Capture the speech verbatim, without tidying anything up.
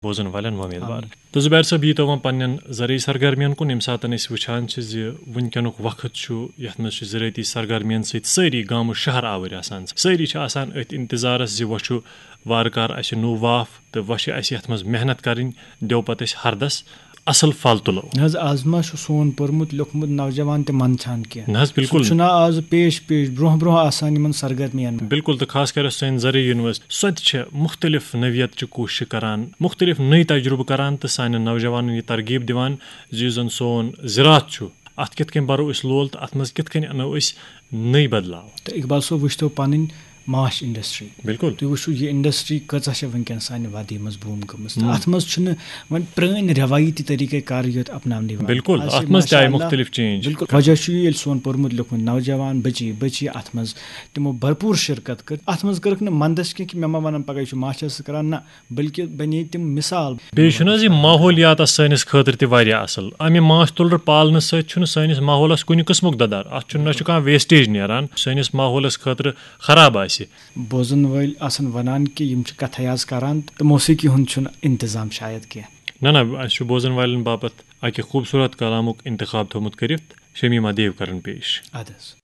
بوزن والٮ۪ن وۄمیدوار۔ تہٕ زبیر صٲب، ییٖتو وۄنۍ پننٮ۪ن زرعی سرگرمین کُن، ییٚمہِ ساتہٕ أسۍ وٕچھان چھِ زِ وٕنکیٚنُک وقت چھُ یتھ منٛز چھِ زرٲعتی سرگرمین سۭتۍ سٲری گامہٕ شہر آوٕرۍ آسان، سٲری چھِ آسان أتھۍ انتظارس زِ وۄنۍ چھُ وارٕ کارٕ اسہِ نوٚو واف تہٕ وۄنۍ چھِ اسہِ یتھ منٛز محنت کرٕنۍ، دِیو پتہٕ أسۍ ہردس اصل پھل تُلو۔ نہ حظ، از ما چھُ سون پوٚرمُت لیوٚکھمُت نوجوان تہِ منٛدچھان کینٛہہ؟ نہ حظ، بِلکُل۔ سُہ چھُنہ از پیش پیش برونٛہہ برونٛہہ آسان یِمن سرگرمین منٛز؟ بِلکُل، تہٕ خاص کر یۄس سٲنۍ زرعی یونیورسٹی، سۄ تہِ چھےٚ مُختٔلِف نوعیت چہِ کوٗششہِ کران، مُختٔلِف نٔے تجرُبہٕ کران تہٕ سانٮ۪ن نوجوانن یہِ ترغیب دِوان زِ یُس زن سون زِراعت چھُ، اتھ کِتھ کٔنۍ برو أسۍ لول تہٕ اتھ منٛز کِتھ کٔنۍ انو أسۍ نٔے بدلاو۔ تہٕ اقبال صٲب، وٕچھتو پنٕنۍ ماچھ انڈسٹری۔ بِلکُل۔ تُہۍ وٕچھِو، یہِ انڈسٹری کۭژاہ چھےٚ وٕنکیٚن سانہِ وادی منٛز بوٗم گٔمٕژ۔ تہٕ ہُم۔ اتھ منٛز چھُنہٕ وۄنۍ پرٛٲنۍ رٮ۪وٲیتی طریٖقہٕ کار یوت اپناونہٕ یِوان۔ بِلکُل، آز چھِ اتھ منٛز تہِ آیہِ ماشاءاللہ مُختٔلِف change۔ بِلکُل۔ وجہ چھُ یہِ، ییٚلہِ سون پوٚرمُت لیوٚکھمُت نوجوان بٔچی بٔچی اتھ منٛز تِمو بھرپوٗر شرکت کٔر۔ اتھ منٛز کٔرٕکھ نہٕ منٛدچھ کینٛہہ کہِ مےٚ ما ونن پگاہ یہِ چھُ ماچھس سۭتۍ کران، نہ، بلکہِ بنے تِم مثال۔ بیٚیہِ چھُنہٕ حظ یہِ ماحولیاتس سٲنِس خٲطرٕ تہِ واریاہ اصل۔ امہِ ماچھ تُلرٕ پالنہٕ سۭتۍ چھُنہٕ سٲنِس ماحولس کُنہِ قٕسمُک دَدَر۔ اتھ چھُنہٕ، نہ چھُ کانٛہہ wastage نیران۔ سٲنِس ماحولس خٲطرٕ خراب آسہِ۔ بوزن وٲلۍ آسن ونان کہِ یِم چھِ کتھے آز کران تہٕ موسیقی ہُنٛد چھُنہٕ انتظام شاید کینٛہہ۔ نہ، نہ، اسہِ چھُ بوزن والٮ۪ن باپتھ اکہِ خوٗبصوٗرت کلامُک انتخاب تھوٚومُت کٔرِتھ، شمیمہ دیو کرن پیش۔ اَدٕ حظ۔